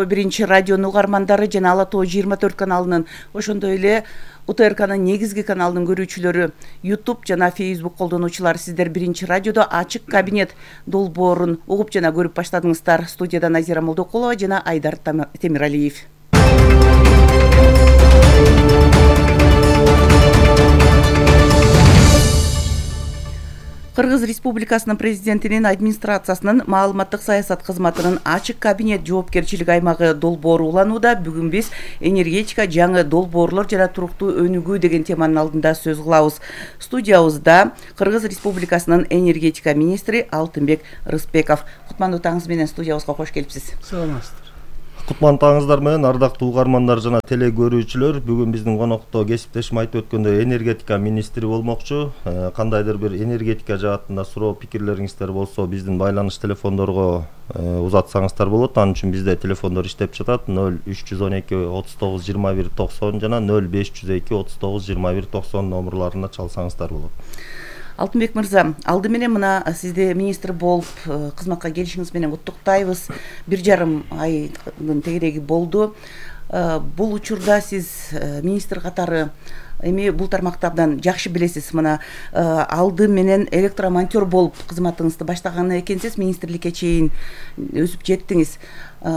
Биринчи радионун угармандары жана Ала Тоо 24 каналынын, ошондой эле УТРКнын негизги каналынын көрүүчүлөрү, YouTube жана Facebook колдонуучулар, сиздер Биринчи радиодо ачык кабинет долбоорун угуп жана көрүп баштадыңыздар. Студияда Назира Молдокулова жана Айдар Темиралиев. Кыргыз Республикасынын президентинин администрациясынын маалыматтык саясат кызматынын ачык кабинет жоопкерчилик аймагы долбоору уланууда. Бүгүн биз энергетика жаңы долбоорлор жана туруктуу өнүгүү деген теманын алдында сөз кылабыз. Студиябызда Кыргыз Республикасынын энергетика министри Алтынбек Рыспеков. Кутмандуу таңыңыз менен студиябызга кош келипсиз. Саламатсыздар. Кутмандуу таңыңыздар менен ардактуу угармандар жана теле көрүүчүлөр, бүгүн биздин конокто кесиптешим айтып өткөндөй энергетика министри болмокчу. Кандайдыр бир энергетика жаатында суроо пикирлериңиздер болсо, биздин байланыш телефондорго узатсаңыздар болот. Анын үчүн бизде телефондор иштеп жатат: 0312 39 21 90 жана 0502 39 21 90 номерларына чалсаңыздар болот. Алтынбек мырза, алды менен мына сизди министр болуп кызматка келишиңиз менен куттуктайбыз. 1,5 айдын тегереги болду. Бул учурда сиз министр катары эми бул тармакты абдан жакшы билесиз. Мына алды менен электромонтер болуп кызматыңызды баштаган экенсиз, министрликке чейин өсүп жеттиңиз.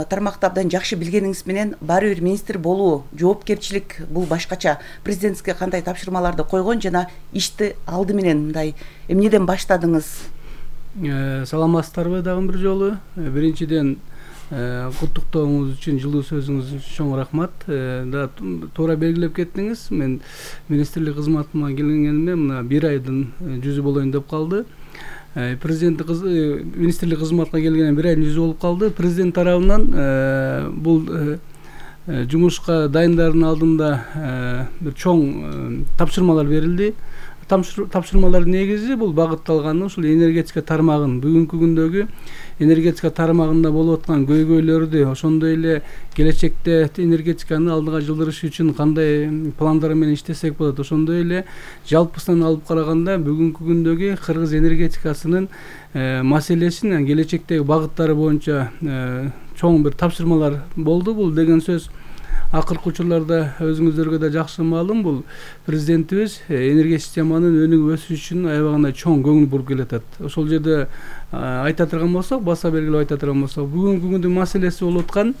Тармакты абдан жакшы билгениңиз менен баары бир министр болуу, жоопкерчилик бул башкача. Президентке кандай тапшырмаларды койгон жана ишти алды менен мындай эмнеден баштадыңыз? Саламатсыздарбы дагы бир жолу. Биринчиден куттуктооңуз үчүн, жылуу сөзүңүз үчүн чоң рахмат. Да туура белгилеп кеттиңиз. Мен министрлик кызматыма келгениме мына 1 айдын жүзү болоюн деп калды. Президент министрлик кызматына келгенин 1 айдын жүзү болуп калды. Президент тарабынан бул жумушка дайындардын алдында бир чоң тапшырмалар берилди. Тапшырмалардын негизи бул багытталган ушул энергетика тармагын, бүгүнкү күндөгү энергетика тармагында болуп аткан көйгөйлөрдү, ошондой эле келечекте энергетиканы алдыга жылдырыш үчүн кандай пландар менен иштесек болот, ошондой эле жалпысынан алып караганда бүгүнкү күндөгү Кыргыз энергетикасынын маселесин, келечектеги багыттары боюнча чоң бир тапшырмалар болду. Бул деген сөз акыркы учурларда өзүңүздөргө да жакшы маалым, бул президентибиз энергия системанын өнүгүп өсүшү үчүн аябагында чоң көңүл буруп келатат. Ошол жерде айта турган болсок, баса белгилеп айта турган болсок, бүгүнкү күндүн маселеси болуп аткан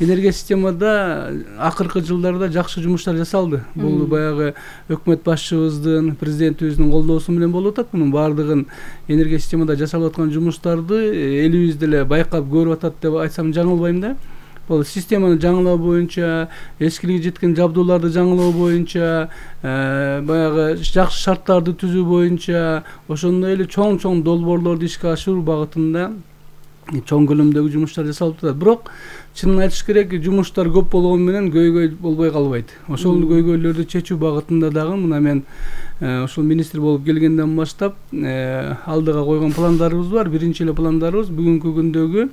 энергия системада акыркы жылдарда жакшы жумуштар жасалды. Бул баягы өкмөт башчыбыздын, президентибиздин колдоосу менен болуп атат. Мунун баардыгын энергия системада жасалып аткан жумуштарды элибиз деле байкап көрүп атат деп айтсам жаңылбайм да. Бул системаны жаңылоо боюнча, эскилиги жеткен жабдууларды жаңылоо боюнча, баягы жакшы шарттарды түзүү боюнча, ошондой эле чоң долбоорлорду ишке ашыруу багытында чоң көлөмдөгү жумуштар жасалып атат. Бирок чынын айтыш керек, жумуштар көп болгону менен көйгөй болбой калбайт. Ошол көйгөйлөрдү чечүү багытында дагы мына мен ошол министр болуп келгенден баштап алдыга койгон пландарыбыз бар. Биринчи эле пландарыбыз бүгүнкү күндөгү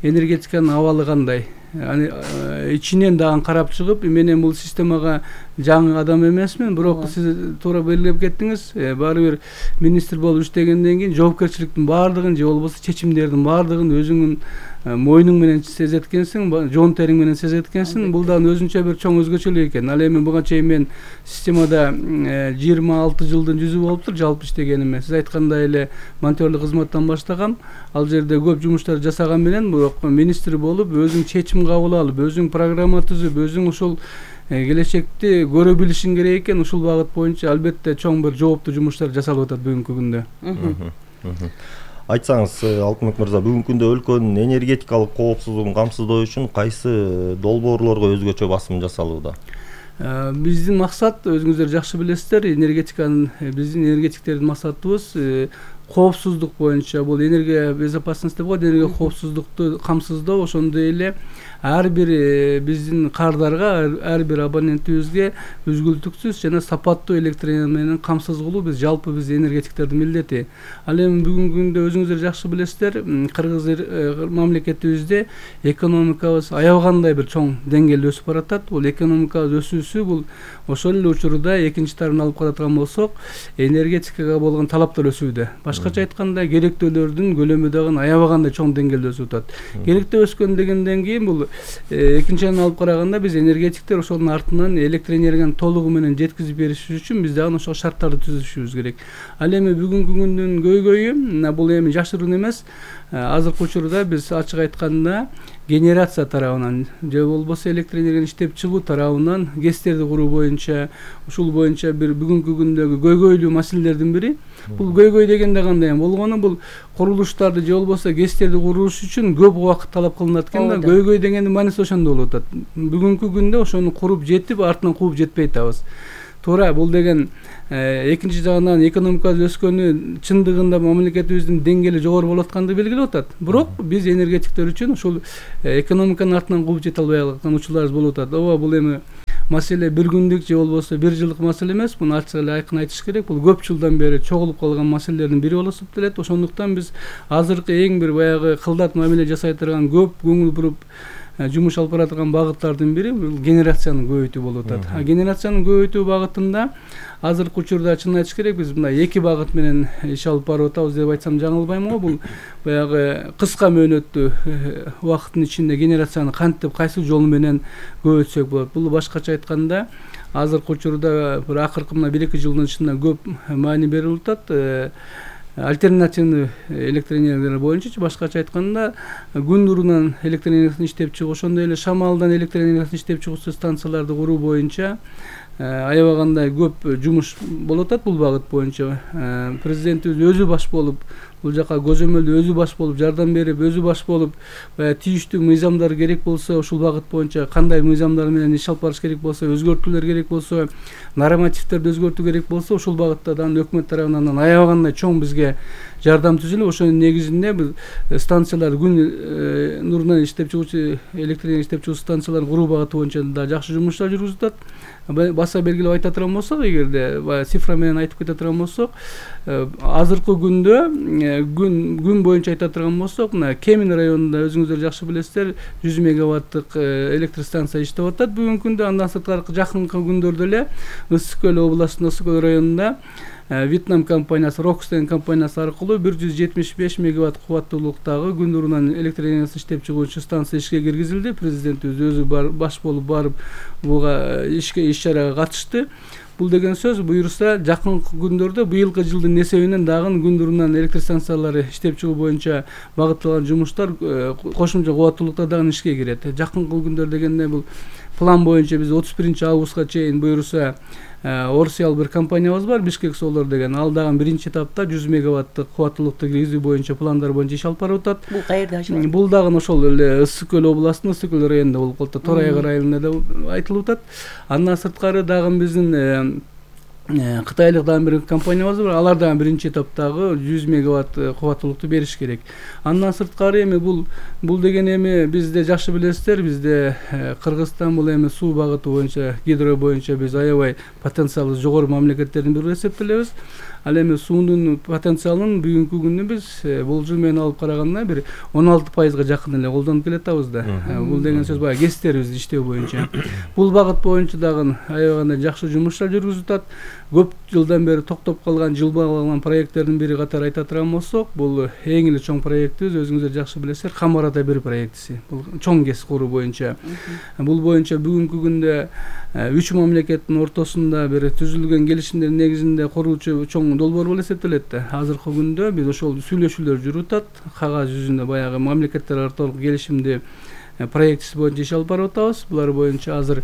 энергетиканын абалы кандай, ичинен дагы карап чыгып, менен бул системага жаңы адам эмесмин, бирок сиз туура белгилеп кеттиңиз, баары бир министр болуп иштегенден кийин жоопкерчиликтин баардыгын же болбосо чечимдердин баардыгын өзүңүн мойнуң менен сезет экенсиң, жон териң менен сезет экенсиң. Бул дагы өзүнчө бир чоң өзгөчөлүк экен. Ал эми буга чейин мен системада 26 жылдын жүзү болуптур жалпы иштегениме. Сиз айткандай эле монтерлик кызматтан баштагам. Ал жерде көп жумуштар жасаган менен, бирок министр болуп өзүң чечим кабыл алып, өзүң программа түзүп, өзүң ушул келечекти көрө билишиң керек экен. Ушул багыт боюнча албетте чоң бир жооптуу жумуштар жасалып атат бүгүнкү күндө. Айтсаңыз, Алтынбек мырза, бүгүнкү күндө өлкөнүн энергетикалык коопсуздугун камсыздоо үчүн кайсы долбоорлорго өзгөчө басым жасалууда? Биздин максат, өзүңүздөр жакшы билесиздер, биздин энергетиктердин максатыбыз коопсуздук боюнча, бул энергия безопасности деп коет, энергия коопсуздукту камсыздоо, ошондой эле ар бир биздин кардарга, ар бир абонентибизге үзгүлтүксүз жана сапаттуу электр энергияны камсыз кылуу биз энергетиктердин милдети. Ал эми бүгүнкү күндө өзүңүздөр жакшы билесиздер, Кыргыз мамлекетибизде экономикабыз аябагандай бир чоң деңгээлде өсүп баратат. Бул экономикабыз өсүүсү бул ошол эле учурда экинчи тарабын алып каратган болсок, энергетикага болгон талаптар өсүүдө. башкача айтканда керектөөлөрдүн көлөмү дагы аябагандай чоң деңгээлде өсүп атат. Керектөө өскөн дегенден кийин бул экинчи жагынан алып караганда биз энергетиктер ошонун артынан электр энергияны толугу менен жеткизип бериш үчүн биз дагы ошол шарттарды түзүшүбүз керек. Ал эми бүгүнкү күндүн көйгөйү бул эми жашыруун эмес. Азыркы учурда биз ачык айтканда генерация тарабынан же болбосо электр энергияны иштеп чыгуу тарабынан ГЭСтерди куруу боюнча ушул боюнча бир бүгүнкү күндөгү көйгөйлүү маселелердин бири. Бул көйгөй дегенде кандай болгону, бул курулуштарды же болбосо ГЭСтерди курууш үчүн көп убакыт талап кылынат экен да. Көйгөй дегендин мааниси ошондо болуп атат. Бүгүнкү күндө ошону куруп жетип, артынан кууп жетпей атабыз. Туура, бул деген экинчи жагынан экономикабыз өскөнү чындыгында мамлекетибиздин деңгээли жогору болуп атканды белгилеп атат. Бирок биз энергетиктер үчүн ушул экономиканын артынан кууп жете албай аткан учурларыбыз болуп атат. Ооба, бул эми маселе бир күндүк же болбосо бир жылдык маселе эмес. Муну ачык эле айкын айтыш керек. Бул көп жылдан бери чогулуп калган маселелердин бири болуп эсептелет. Ошондуктан биз азыркы эң бир баягы кылдат мамиле жасай турган, көп көңүл буруп жумуш алып бара турган багыттардын бири бул генерацияны көбөйтүү болуп атат. Генерацияны көбөйтүү багытында азыркы учурда чын айтыш керек, биз мындай эки багыт менен иш алып барып атабыз деп айтсам жаңылбайм го. Бул баягы кыска мөөнөттүү убакыттын ичинде генерацияны кантип, кайсы жол менен көбөйтсөк болот. Бул башкача айтканда азыркы учурда бир акыркы мына 1-2 жылдын ичинде көп маани берилип атат. Альтернативный электр энергиялар боюнча, башкача айтканда күн нурунан электр энергиясын иштеп чыгуу, ошондой эле шамалдан электр энергиясын иштеп чыгуучу станцияларды куруу боюнча аябагандай көп жумуш болуп атат. Бул багыт боюнча президентибиз өзү баш болуп, бул жака көзөмөлдө өзү баш болуп, жардам берип, өзү баш болуп, тийиштүү мыйзамдар керек болсо, ушул багыт боюнча кандай мыйзамдар менен иш алып барыш керек болсо, өзгөртүүлөр керек болсо, нормативдерди өзгөртүү керек болсо, ушул багытта да өкмөт тарабынан аябагандай чоң бизге жардам түзүлүп, ошонун негизинде биз станциялар күн нурунан иштеп чыгуучу электр энергия иштеп чыгуучу станцияларды куруу багыты боюнча да жакшы жумуштар жүргүзүлүп атат. Баса белгилеп айта турган болсок, эгерде цифра менен айтып кете турган болсок, азыркы күндө күн боюнча айта турган болсок, мына Кемин районунда өзүңүздөр жакшы билесиздер, 100 мегаваттык электр станция иштеп атат бүгүнкү күндө. Андан сырткары жакынкы күндөрдө эле Ысык Көл областынын Ысык Көл районунда Вьетнам компаниясы, Рокс деген компаниясы аркылуу 175 мегаватт кубаттуулуктагы күн нурунан электр энергиясын иштеп чыгуучу станция ишке киргизилди. Президентибиз өзү баш болуп барып буга иш чарага катышты. Бул деген сөз буюрса жакынкы күндөрдө быйылкы жылдын эсебинен дагы күн нурунан электр станциялары иштеп чыгуу боюнча багытталган жумуштар кошумча кубаттуулукта дагы ишке кирет. Жакынкы күндөр дегенде бул план боюнча биз 31 августка чейин буюрса Орсиал бир компаниябыз бар, Бишкек Солар деген. Ал дагы биринчи этапта 100 мегаваттык кубаттуулукту киргизүү боюнча пландар боюнча иш алып барып атат. Бул каерде ачылат? Бул дагы ошол эле Ысык Көл областынын Ысык Көл районунда болуп калат. Торайгы районунда да айтылып атат. Андан сырткары дагы биздин кытайлык дагы бир компаниябыз бар. Алар дагы биринчи этаптагы 100 мегаватт кубаттуулукту бериш керек. Андан сырткары эми бул деген эми бизде жакшы билесиздер, бизде Кыргызстан бул эми суу багыты боюнча, гидро боюнча биз аябай потенциалы жогору мамлекеттердин бири эсептелебиз. Ал эми суунун потенциалын бүгүнкү күндө биз бул жыл менен алып караганда бир 16% жакын эле колдонуп келатабыз да. Бул деген сөз баягы ГЭСтерибизди иштөө боюнча. Бул багыт боюнча дагы аябагандай жакшы жумуштар жүргүзүлүп атат. Көп жылдан бери токтоп калган, жылбай калган проекттердин бири катары айта турган болсок, бул эң эле чоң проектибиз, өзүңүздөр жакшы билесиздер, Камарада 1 проектиси. Бул чоң ГЭС куруу боюнча. Бул боюнча бүгүнкү күндө 3 мамлекеттин ортосунда бир түзүлгөн келишимдердин негизинде курулчу чоң долбоор болуп эсептелет. Азыркы күндө биз ошол сүйлөшүүлөр жүрүп атат. Кагаз жүзүндө баягы мамлекеттер ортолук келишимди проектиси боюнча иш алып барып атабыз. Булар боюнча азыр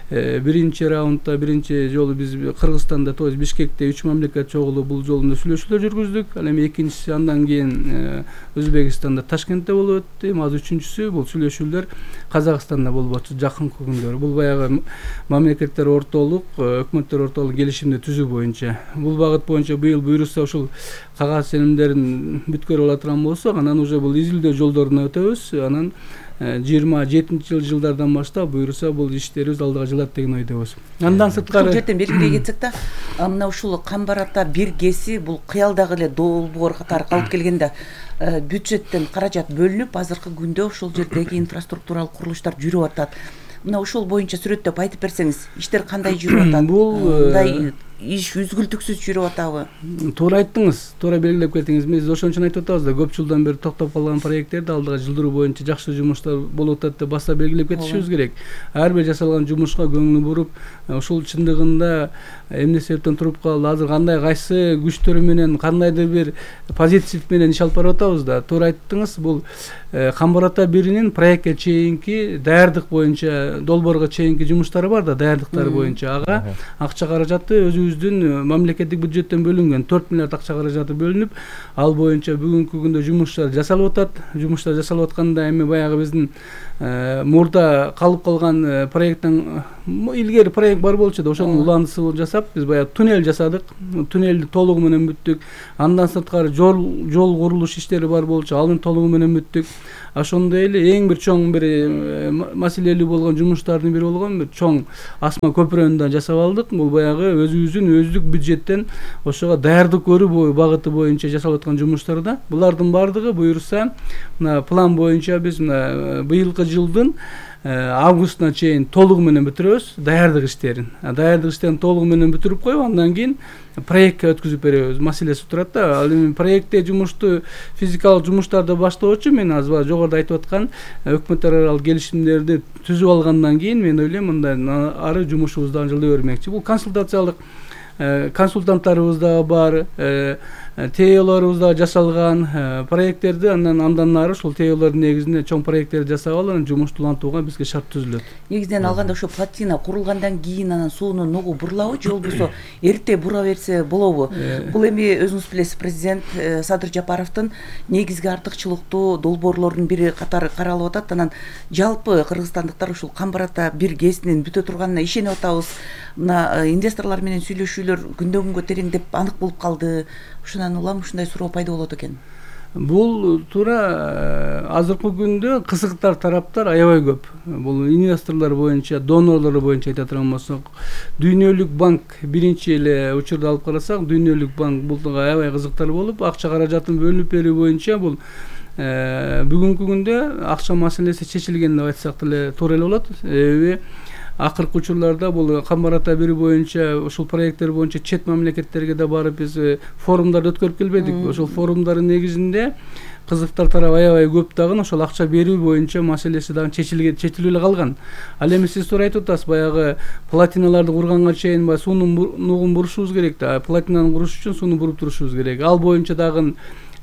биринчи раундда биринчи жолу биз Кыргызстанда, то есть Бишкекте 3 мамлекет чогулуп бул жолунда сүйлөшүүлөр жүргүздүк. Ал эми экинчиси андан кийин Өзбекстанда, Ташкентте болуп өттү. Азыр үчүнчүсү бул сүйлөшүүлөр Казакстанда болуп атат жакынкы күндөр. Бул баягы мамлекеттер ортолук, өкмөттөр ортолук келишимди түзүү боюнча. Бул багыт боюнча быйыл буюрса ушул кагаз сенемдерин бүткөрүп ала турган болсок, анан уже бул изилдөө жолдоруна өтөбүз. Анан 27-жылдардан баштап буюрса бул иштерибиз алдыга жылат деген ойдобуз. Андан сырткары ушул жерден белгилей кетсек да, мына ушул Камбарата 1 ГЭСи бул кыялдагы эле долбоор катары калып келгенде бюджеттен каражат бөлүнүп, азыркы күндө ушул жердеги инфраструктуралык курулуштар жүрүп атат. мына ошол боюнча сүрөттөп айтып берсеңиз, иштер кандай жүрүп атат? Бул мындай иш үзгүлтүксүз жүрүп атабы? Туура айттыңыз, туура белгилеп кеттиңиз. Биз ошон үчүн айтып атабыз да, көп жылдан бери токтоп калган проекттерди алдыга жылдыруу боюнча жакшы жумуштар болуп атат деп баса белгилеп кетишибиз керек. Ар бир жасалган жумушка көңүл буруп, ушул чындыгында эмне себептен туруп калды, азыр кандай кайсы күчтөр менен, кандайдыр бир позитив менен иш алып барып атабыз да. Туура айттыңыз, бул Камбар ата 1-ин проектке чейинки даярдык боюнча, долбоорго чейинки жумуштары бар да, даярдыктары боюнча. Ага акча каражаты өзүбүздүн мамлекеттик бюджеттен бөлүнгөн 4 миллиард акча каражаты бөлүнүп, ал боюнча бүгүнкү күндө жумуштар жасалып атат. Жумуштар жасалып атканда эми баягы биздин мурда калып калган проекттен илгери проект бар болчу да, ошонун уландысын жасап, биз баягы туннель жасадык. Туннелди толугу менен бүттүк. Андан сырткары жол курулуш иштери бар болчу, аны толугу менен бүттүк. Ошондой эле эң бир чоң бир маселелүү болгон жумуштардын бири болгон бир чоң асма көпүрөнү да жасап алдык. Бул баягы өзүбүздүн өздүк бюджеттен ошого даярдык көрүү багыты боюнча жасалып аткан жумуштар да. Булардын баардыгы буюрса, мына план боюнча биз мына быйылкы жылдын августуна чейин толугу менен бүтүрөбүз даярдык иштерин. Даярдык иштерин толугу менен бүтүрүп коюп, андан кийин проектке өткүзүп беребиз. Маселеси турат да. Ал эми проектте жумушту, физикалык жумуштарды баштоочу мен азыр жогоруда айтып аткан өкмөт аралык келишимдерди түзүп алгандан кийин мен ойлойм мындай ары жумушубузду дагы жылдай бермекчи. Бул консультациялык консультанттарыбыз да бар, теорияларыбыз да жасалган, проекттерди андан нары ушул теориялардын негизинде чоң проекттерди жасап алып, жумушту улантууга бизге шарт түзүлөт. Негизинен алганда ошо плотина курулгандан кийин анан суунун нугу бурулабы же болбосо эрте бура берсе болобу? Бул эми өзүңүз билесиз, президент Садыр Жапаровдун негизги артыкчылыктуу долбоорлордун бири катары каралып атат. Анан жалпы кыргызстандыктар ушул Камбар ата 1 ГЭСинин бүтө турганына ишенип атабыз. Мына инвесторлор менен сүйлөшүүлөр күндөн күнгө тереңдеп анык болуп калды. Ушундан улам ушундай суроо пайда болот экен. Бул туура азыркы күндө кызыктар тараптар аябай көп. Бул инвесторлор боюнча, донорлор боюнча айта турган болсок, Дүйнөлүк банк биринчи эле учурду алып карасак, Дүйнөлүк банк бул аябай кызыктар болуп, акча каражатын бөлүнүп берүү боюнча бул бүгүнкү күндө акча маселеси чечилген деп айтсак деле туура эле болот. Акыркы учурларда бул Камбар ата 1 боюнча ушул проекттер боюнча чет мамлекеттерге да барып биз форумдарды өткөрүп келбедик. Ошол форумдардын негизинде кызыктар тарап аябай көп дагы ошол акча берүү боюнча маселеси дагы чечилип эле калган. Ал эми сиз туура айтып атасыз, баягы плотиналарды курганга чейин суунун нугун бурушубуз керек да. Плотинаны куруш үчүн сууну буруп турушубуз керек. Ал боюнча дагы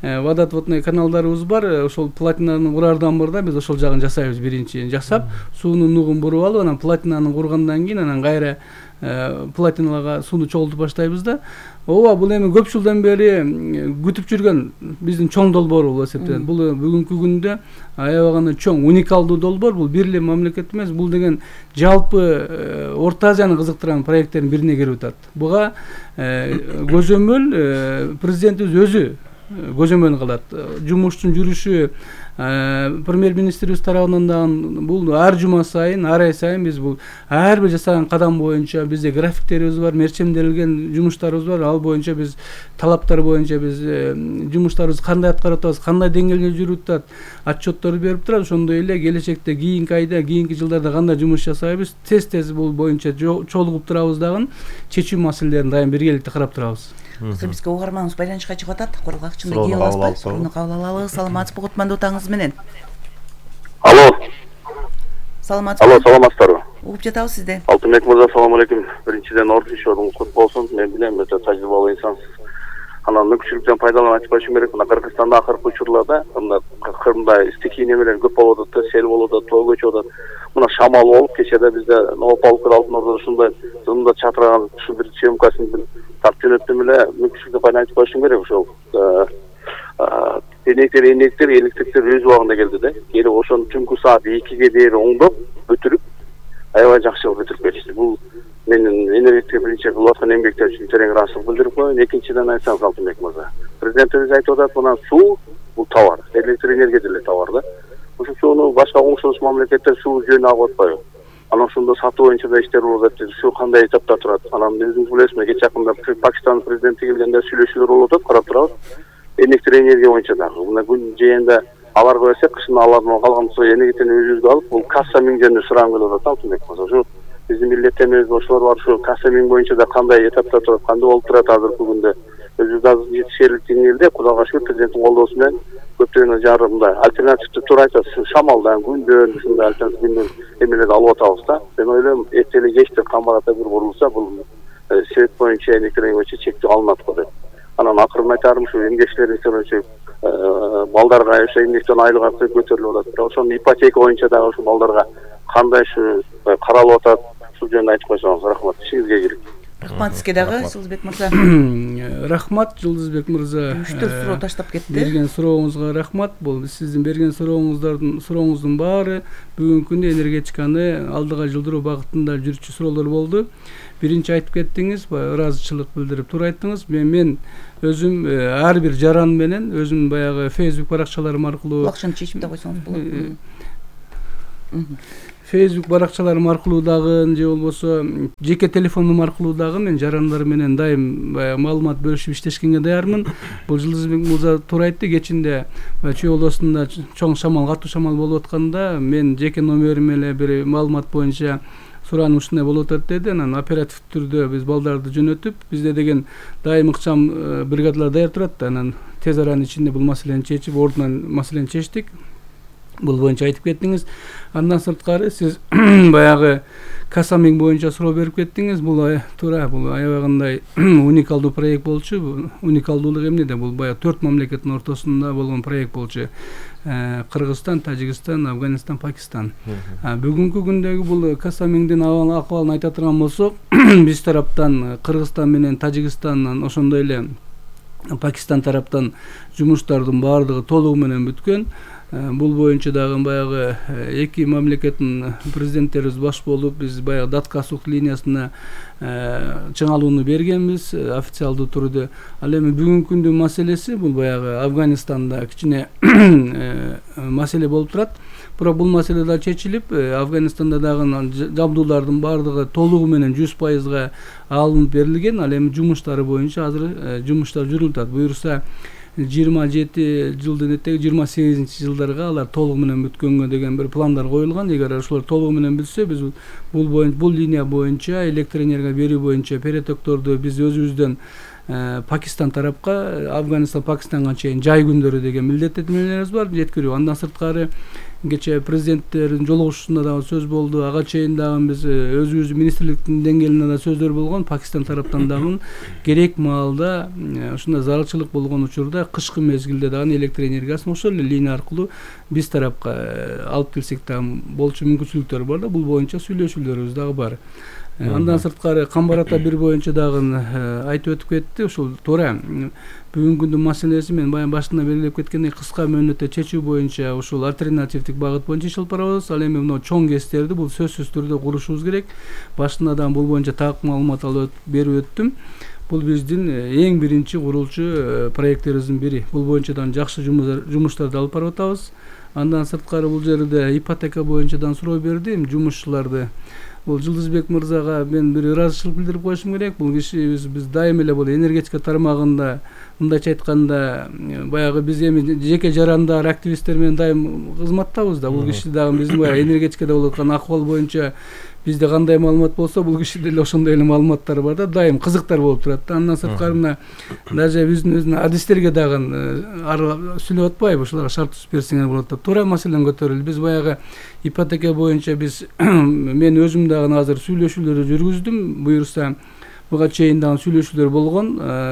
водоотводный каналдарыбыз бар. Ошол плотинаны курардан мурда биз ошол жагын жасайбыз. Биринчи жасап, суунун нугун буруп алып, анан плотинаны кургандан кийин анан кайра плотиналарга сууну чогултуп баштайбыз да. Ооба, бул эми көп жылдан бери күтүп жүргөн биздин чоң долбоор болуп эсептелет. Бул бүгүнкү күндө аябай гана чоң, уникалдуу долбоор. Бул бир эле мамлекет эмес, бул деген жалпы Орто Азияны кызыктырган проекттердин бирине кирип атат. Буга көзөмөл президентибиз өзү көзөмөл кылат. Жумуштун жүрүшү премьер-министрибиз тарабынан да бул ар жума сайын, ар ай сайын биз бул ар бир жасаган кадам боюнча бизде графиктерибиз бар, мерчемделген жумуштарыбыз бар. Ал боюнча биз талаптар боюнча биз жумуштарыбызды кандай аткарып атабыз, кандай деңгээлде жүрүп атат, отчетторду берип турат. Ошондой эле келечекте кийинки айда, кийинки жылдарда кандай жумуш жасайбыз, тез бул боюнча чогулуп турабыз дагы, чечүү маселелерин дайым биргеликте карап турабыз. Бизге угарманыбыз байланышка чыгып атат. Курулгачында кие аласызбы? Суроону кабыл алалы. Саламатсызбы, кутмандуу таңыңыз менен. Алло. Саламатсызбы? Алло, саламатсыздарбы? Угуп жатабыз сизди. Алтынбек мырза, салам алейкум. Биринчиден ордун ишиңиз кут болсун. Мен билем, өтө тажрыйбалуу инсансыз. Анан мүмкүнчүлүктөн пайдаланып айтып коюшум керек. Мына Кыргызстанда акыркы учурларда мындай стихий немелер көп болуп атат, сел болуп атат, тоо көчүп атат. Мына шамал болуп, кечеде бизде Новополкер Алтын Ордодо ушундай зымда чатыраган ушу бир съемкасын бир тартып жөнөттүм эле. Мүмкүнчүлүктөн пайдаланып айтып коюшум керек. Ошол энектер, электриктер өз убагында келди да. Кери ошону түнкү саат 2ге дейин оңдоп, бүтүрүп, аябай жакшы кылып бүтүрүп беришти. Бул менин энергетика биринчи кылып аткан эмгектер үчүн терең ыраазычылык билдирип коеюн. Экинчиден айтсаңыз, Алтынбек мырза, президентибиз айтып атат, мына суу бул товар, электр энергия деле товар да. Ушул сууну башка коңшулуш мамлекеттер суу жөнүнө алып атпайбы? Анан ошондо сатуу боюнча да иштер болуп атат. Ушу кандай этапта турат? Анан өзүңүз билесизби, кече жакында Пакистан президенти келгенде сүйлөшүүлөр болуп атат, карап турабыз. Электр энергия боюнча дагы. Мына күн жээнде аларга берсек кышын алардан калган суу энергетиканы өзүбүзгө алып бул касса миңдеринде сураган келип атат Алтынбек мырза. Ушу биздин милдеттенебиз ошолор бар. Ушу касса миң боюнча да кандай этапта турат, кандай болуп турат азыркы күндө. Өзүбүз азыр жетишерлик деңгээлде Кудайга шүгүр президенттин колдоосу менен көптөгөн жарымда альтернативдүү тур айтат. Шамалдан, күндөн, ушундай альтернатив күндөн эмелерди алып атабыз да. Мен ойлойм, эрте эле кечте камбарата бир курулса, бул свет боюнча, электр боюнча чектөө алынат го деп. Анан акырын айтарым, ушу эмгекчилердин үчүн балдарга ошо эмгектен айлык аркы көтөрүлүп атат. Ошонун ипотека боюнча дагы ушул балдарга кандай ушу каралып атат, ушул жөнүндө айтып койсоңуз рахмат. Ишиңизге келик. Рахмат сизге дагы, Жылдызбек мырза. Рахмат, Жылдызбек мырза. 3-4 суроо таштап кетти. Берген сурооңузга рахмат. Бул сиздин берген сурооңуздун баары бүгүнкү күндө энергетиканы алдыга жылдыруу багытында жүрчү суроолор болду. Биринчи айтып кеттиңиз, ыраазычылык билдирип тур айттыңыз. Мен өзүм ар бир жаран менен өзүм баягы Facebook баракчаларым аркылуу Акчаны чечип да койсоңуз болот. Facebook баракчаларым аркылуу дагы же болбосо жеке телефонум аркылуу дагы мен жарандар менен дайым маалымат бөлүшүп иштешкенге даярмын. Бул Жылдызбек мырза туура айтты, кечинде Чүй областында чоң шамал, катуу шамал болуп атканда мен жеке номерим эле бир маалымат боюнча сураным ушундай болуп атат деди. Анан оператив түрдө биз балдарды жөнөтүп, бизде деген дайым ыкчам бригадалар даяр турат да. Анан тез аранын ичинде бул маселени чечип, ордунан маселени чечтик. Бул боюнча айтып кеттиңиз. Андан сырткары сиз баягы Касамиң боюнча суроо берип кеттиңиз. Бул туура, бул аябагындай уникалдуу проект болчу. Уникалдуулук эмнеде? Бул баягы 4 мамлекеттин ортосунда болгон проект болчу. Кыргызстан, Тажикстан, Афганистан, Пакистан. Бүгүнкү күндөгү бул Касамиңдин акыбалын айта турган болсок, биз тараптан Кыргызстан менен Тажикстандан ошондой эле Пакистан тараптан жумуштардын баардыгы толугу менен бүткөн. Бул боюнча дагы баягы эки мамлекеттин президенттерибиз баш болуп, биз баягы Датка суу линиясына чыңалууну бергенбиз официалдуу түрдө. Ал эми бүгүнкү күндүн маселеси бул баягы Афганистанда кичине маселе болуп турат. Бирок бул маселе да чечилип, Афганистанда дагы жабдуулардын баардыгы толугу менен 100%га алынып берилген. Ал эми жумуштары боюнча азыр жумуштар жүрүлүп атат. Буюрса 27 жылдын этеги 28-жылдарга алар толугу менен бүткөнгө деген бир пландар коюлган. Эгер ошолор толугу менен бүтсө, биз бул линия боюнча электр энергия берүү боюнча перетокторду биз өзүбүздөн Пакистан тарапка, Афганистан, Пакистанга чейин жай күндөрү деген милдеттенмелерибиз бар, жеткирүү. Андан сырткары кече президенттердин жолугушуусунда дагы сөз болду. Ага чейин дагы биз өзүбүздүн министрликтин деңгээлинде да сөздөр болгон. Пакистан тараптан дагы керек маалда ушундай зарылчылык болгон учурда кышкы мезгилде дагы электр энергиясын ошол эле линия аркылуу биз тарапка алып келсек дагы болчу мүмкүнчүлүктөр бар да. Бул боюнча сүйлөшүүлөрүбүз дагы бар. Андан сырткары Камбарата бир боюнча дагы айтып өтүп кетти. Ушул туура. Бүгүнкү күндүн маселеси мен баягы башында белгилеп кеткендей кыска мөөнөттө чечүү боюнча ушул альтернативдик багыт боюнча иш алып барабыз. Ал эми мына чоң КЭСтерди бул сөзсүз түрдө курушубуз керек. Башында да бул боюнча так маалымат алып берип өттүм. Бул биздин эң биринчи курулчу проекттерибиздин бири. Бул боюнча да жакшы жумуштарды алып барып атабыз. Андан сырткары бул жерде ипотека боюнча да суроо бердим. Жумушчуларды бул Жылдызбек мырзага мен бир ыраазычылык билдирип коюшум керек. Бул киши биз дайым эле бул энергетика тармагында мындайча айтканда баягы биз эми жеке жарандар, активисттер менен дайым кызматтабыз да. Бул киши дагы биздин баягы энергетикада болуп аткан акыбал боюнча бизде кандай маалымат болсо, бул кишиде эле ошондой эле маалыматтар бар да. Дайым кызыктар болуп турат да. Андан сырткары мына даже биздин өзүнүн адистерге дагы сүйлөп атпайбы, ушуларга шарт түзүп берсеңер болот деп. Туура маселен көтөрүлдү. Биз баягы ипотека боюнча биз мен өзүм дагы азыр сүйлөшүүлөрдү жүргүздүм. Буюрса буга чейин дагы сүйлөшүүлөр болгон.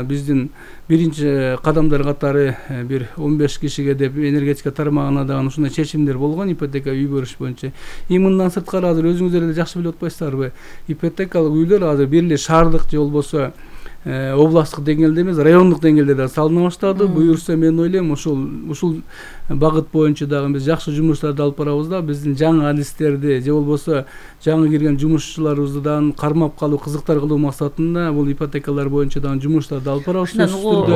Биздин биринчи кадамдар катары бир 15 кишиге деп энергетика тармагына дагы ушундай чечимдер болгон ипотека үй бериш боюнча. Мындан сырткары азыр өзүңүздөр эле жакшы билип атпайсыздарбы? Ипотекалык үйлөр азыр бир эле шаардык же болбосо областтык деңгээлде эмес, райондук деңгээлде да салына баштады. Буюрса мен ойлойм ушул багыт боюнча дагы биз жакшы жумуштарды алып барабыз да. Биздин жаңы адистерди же болбосо жаңы кирген жумушчуларыбызды дагы кармап калуу, кызыктар кылуу максатында бул ипотекалар боюнча дагы жумуштарды алып барабыз.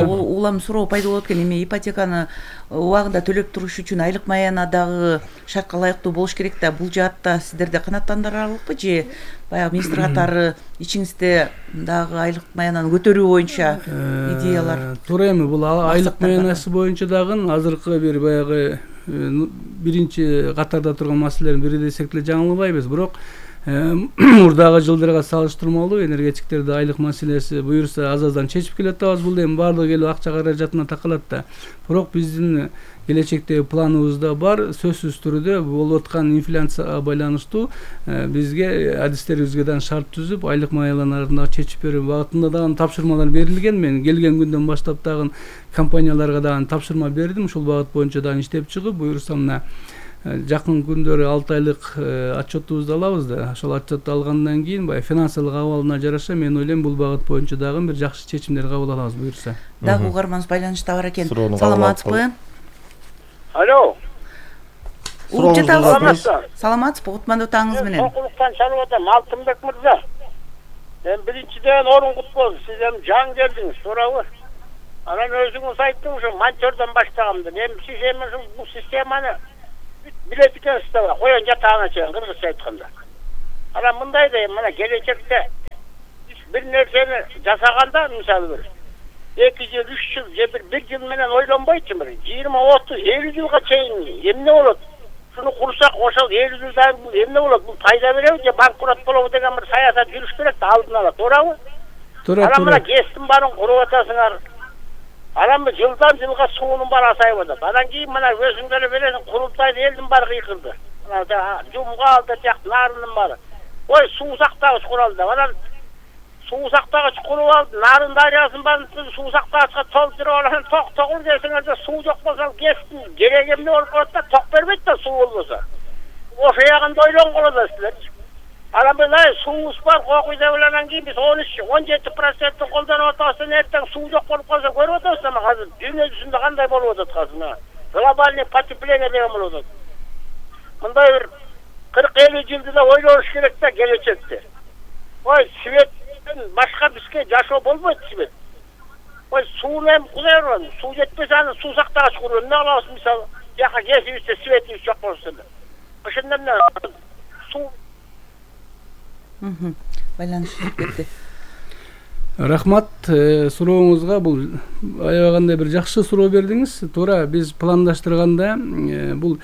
Улам суроо пайда болот экен. Эми ипотеканы убагында төлөп туруш үчүн айлык маяна дагы шартка ылайыктуу болуш керек да. Бул жаатта сиздерде канааттандырарлыкпы же баягы министр катары ичиңизде дагы айлык маянаны көтөрүү боюнча идеялар? Туура эми бул айлык маянасы боюнча дагы азыркы бир баягы биринчи катарда турган маселелердин бири десек деле жаңылбайбыз. Бирок мурдагы жылдарга салыштырмалуу энергетиктерде айлык маселеси буюрса аз-аздан чечип келатабыз. Бул эми баардыгы келип акча каражатына такалат да. Бирок биздин келечектеги планыбызда бар, сөзсүз түрдө болуп аткан инфляцияга байланыштуу бизге адистерибизге дагы шарт түзүп, айлык маяланаларын дагы чечип берүү багытында дагы тапшырмалар берилген. Мен келген күндөн баштап дагы компанияларга дагы тапшырма бердим. Ушул багыт боюнча дагы иштеп чыгып, буюрса мына жакын күндөрү 6 айлык отчетубузду алабыз да. Ошол отчетту алгандан кийин баягы финансылык абалына жараша мен ойлойм бул багыт боюнча дагы бир жакшы чечимдер кабыл алабыз буюрса. Дагы угарманыбыз байланышта бар экен. Саламатсызбы? Алло. Угуп жатабыз. Саламатсызбы? Кутмандуу таңыңыз менен. Окулуктан чалып атам, Алтынбек мырза. Мен биринчиден орун кут болду. Сиз эми жаңы келдиңиз, туурабы? Анан өзүңүз айттыңыз, ушу монтёрдон баштагам деп. Эми сиз эми бул системаны билет экенсиз да, коен жатагына чейин кыргызча айтканда. Анан мындай да, мына келечекте бир нерсени жасаганда, мисалы 2 жыл, 3 жыл, же бир жыл менен ойлонбойчу, 20, 30, 50 жылга чейин эмне болот? Шуну курсак, ошол 50 жылдан эмне болот? Бул пайда береби же банкрот болобу деген бир саясат жүрүш керек да, алдын ала, туурабы? Туура. Анан мына ГЭСтин баарын куруп атасыңар. Анан жылдан жылга суунун баары азайып атат. Анан кийин мына өзүңөр бересиң, курултайда элдин баары кыйкырды. Мына жумга алды тияк нарынын баары. Ой, суу сактагыч куралды. Анан суу сактагыч куруп алды, Нарын дарыясын баарын суу сактагычка толтуруп анан ток десеңер суу жок болсо ГЭСтин кереги эмне болуп калат да, ток бербейт да суу болбосо. Ошо ягында ойлонгон атасыздар. Анан мына суубуз бар, кокуйда анан кийин биз 13-17% колдонуп атабыз, эртең суу жок болуп калса көрүп атабыз ама азыр дүйнө жүзүндө кандай болуп атат азыр. Глобальный потепление деген болуп атат. Мындай бир 40-50 жылды да ойлош керек да келечекте. Ой, светтен башка бизге жашоо болбойт свет. Ой, сууну эми кудай урган, суу жетпесе аны суу сактагыч куруп эмне кылабыз мисалы, жака кесибизде светибиз жок болсо эле. Ошондо эмне суу байланышып кетти. Рахмат сурооңузга. Бул аябагандай бир жакшы суроо бердиңиз. Туура, биз пландаштырганда бул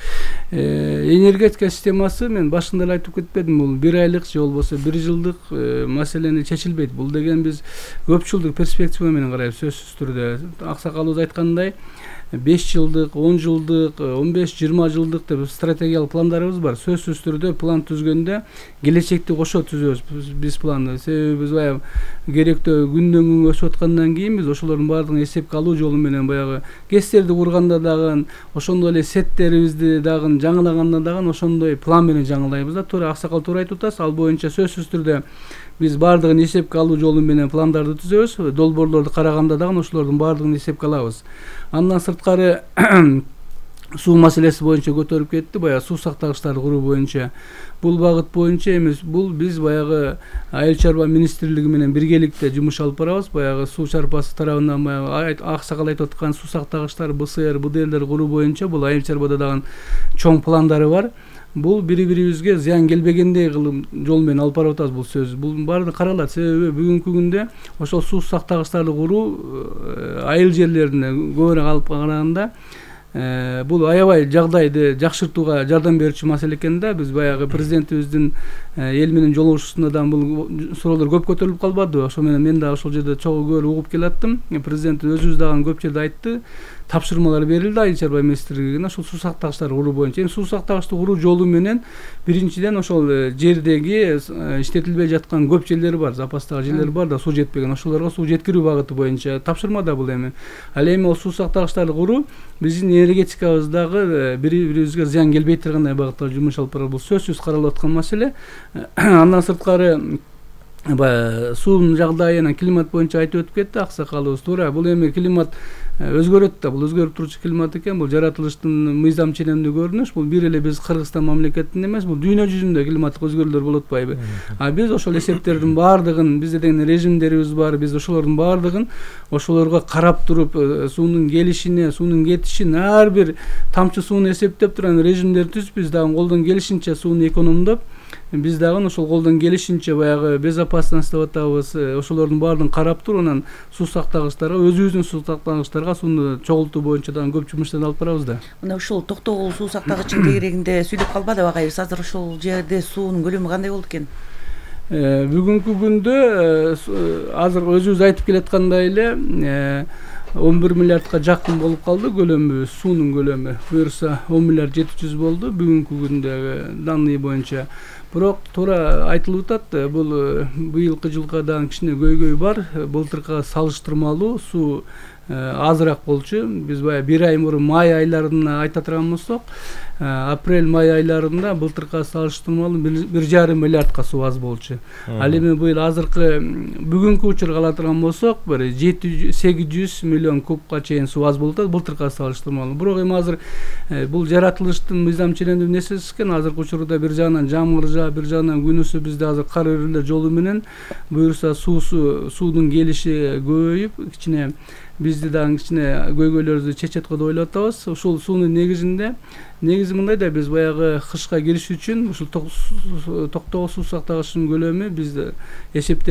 энергетика системасы, мен башында эле айтып кетпедим, бул 1 айлык же болбосо 1 жылдык маселени чечилбейт. Бул деген биз көп жылдык перспектива менен карайбыз, сөзсүз түрдө. Аксакалыбыз айткандай 5 жылдык, 10 жылдык, 15-20 жылдык деп стратегиялык пландарыбыз бар. Сөзсүз түрдө план түзгөндө келечекти кошо түзөбүз биз планды. Себеби биз баягы керектөө күндөн күнгө өсүп аткандан кийин биз ошолордун баардыгын эсепке алуу жолу менен баягы ГЭСтерди курганда дагы, ошондой эле сеттерибизди дагы жаңылаганда дагы ошондой план менен жаңылайбыз да. Туура, Аксакал туура айтып атасыз. Ал боюнча сөзсүз түрдө биз баардыгын эсепке алуу жолу менен пландарды түзөбүз. Долбоорлорду караганда дагы ошолордун баардыгын эсепке алабыз. Андан сырткары суу маселеси боюнча көтөрүп кетти, баягы суу сактагычтарды куруу боюнча. Бул багыт боюнча эмес, бул биз баягы Айыл чарба министрлиги менен биргеликте жумуш алып барабыз. Баягы суу чарбасы тарабынан баягы Аксакал айтып аткан суу сактагычтар, БСР, БДЛдер куруу боюнча бул Айыл чарбада дагы чоң пландары бар. Бул бири-бирибизге зыян келбегендей кылып жол менен алып барып атабыз бул сөз. Бул баардыгы каралат. Себеби бүгүнкү күндө ошол суу сактагычтарды куруу айыл жерлерине көбүрөөк алып караганда бул аябай жагдайды жакшыртууга жардам берүүчү маселе экен да. Биз баягы президентибиздин эл менен жолугушуусунда да бул суроолор көп көтөрүлүп калбады. Ошо менен мен дагы ошол жерде чогуу көп угуп келаттым. Президент өзүбүз дагы көп жерде айтты. Тапшырмалар берилди Айыл чарба министрлигине ошол суу сактагычтарды куруу боюнча. Эми суу сактагычты куруу жолу менен биринчиден ошол жердеги иштетилбей жаткан көп жерлер бар, запастагы жерлер бар да, суу жетпеген. Ошолорго суу жеткирүү багыты боюнча тапшырма да бул эми. Ал эми ол суу сактагычтарды куруу биздин энергетикабыздагы бири-бирибизге зыян келбей тургандай багытта жумуш алып барабыз. Бул сөзсүз каралып аткан маселе. Андан сырткары суунун жагдайына климат боюнча айтып өтүп кетти Аксакалыбыз. Туура, бул эми климат өзгөрөт да, бул өзгөрүп турчу климат экен. Бул жаратылыштын мыйзам ченемдүү көрүнүш. Бул бир эле биз Кыргызстан мамлекетинде эмес, бул дүйнө жүзүндө климаттык өзгөрүүлөр болуп атпайбы? Биз ошол эсептердин баардыгын, бизде деген режимдерибиз бар, биз ошолордун баардыгын ошолорго карап туруп, суунун келишине, суунун кетишин, ар бир тамчы сууну эсептеп турган режимдер түзүп, биз дагы колдон келишинче сууну экономдоп, биз дагы ошол колдон келишинче баягы безопасность деп атабыз, ошолордун баарын карап туруп анан суу сактагычтарга, өзүбүздүн суу сактагычтарга сууну чогултуу боюнча дагы көп жумуштарды алып барабыз да. Мына ушул Токтогул суу сактагычынын тегерегинде сүйлөп калбадыбы агайыбыз? Азыр ошол жерде суунун көлөмү кандай болду экен? Бүгүнкү күндө азыр өзүбүз айтып келаткандай эле 11 миллиардка жакын болуп калды көлөмү, суунун көлөмү. Буюрса 10 миллиард 700 болду бүгүнкү күндөгү данные боюнча. Бирок туура айтылып атат, бул быйылкы жылга дагы кичине көйгөй бар. Былтыркыга салыштырмалуу суу азыраак болчу. Биз баягы 1 ай мурун май айларына айта турган болсок, апрель-май айларында былтыркыга салыштырмалуу 1,5 миллиардка суу аз болчу. Ал эми быйыл азыркы бүгүнкү учурга ала турган болсок, бир 700-800 миллион кубка чейин суу аз болуп атат былтыркыга салыштырмалуу. Бирок эми азыр бул жаратылыштын мыйзам ченемдүү нерсеси экен. Азыркы учурда бир жагынан жамгыр жаап, бир жагынан күнүсү бизде азыр кар өрүүлөр жолу менен буюрса суунун келиши көбөйүп, кичине бизди дагы кичине көйгөйлөрдү чечет го деп ойлоп атабыз. Ушул суунун негизи мындай да, биз баягы кышка кириш үчүн ушул Токтогул суу сактагычынын көлөмү бизде эсептер